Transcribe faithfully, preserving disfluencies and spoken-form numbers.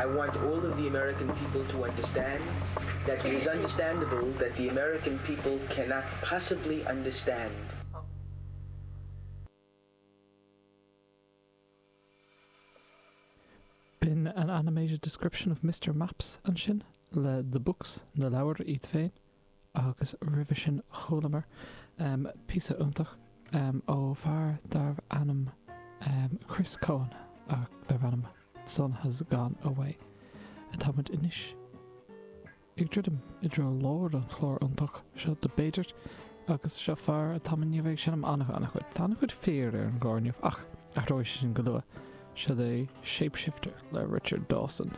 I want all of the American people to understand that it is understandable that the American people cannot possibly understand. B'in An Animated Description of Mister Maps ansin le The Books, na leabhair iad féin, agus roimhe sin chualamar píosa iontach ó fear darbh ainm Chris Cohen darbh ainm The Sun Has Gone Away. Táimid anois ag druidim i dtreo lár an chláir iontach seo de b'fhéidir, agus seo fear atá i ndiaidh a bheith ag seinm an-an-chuid. Tá an-chuid fir ar an gclár inniu, ach athróidh sé sin go luath. Seo é Shapeshifter le Richard Dawson.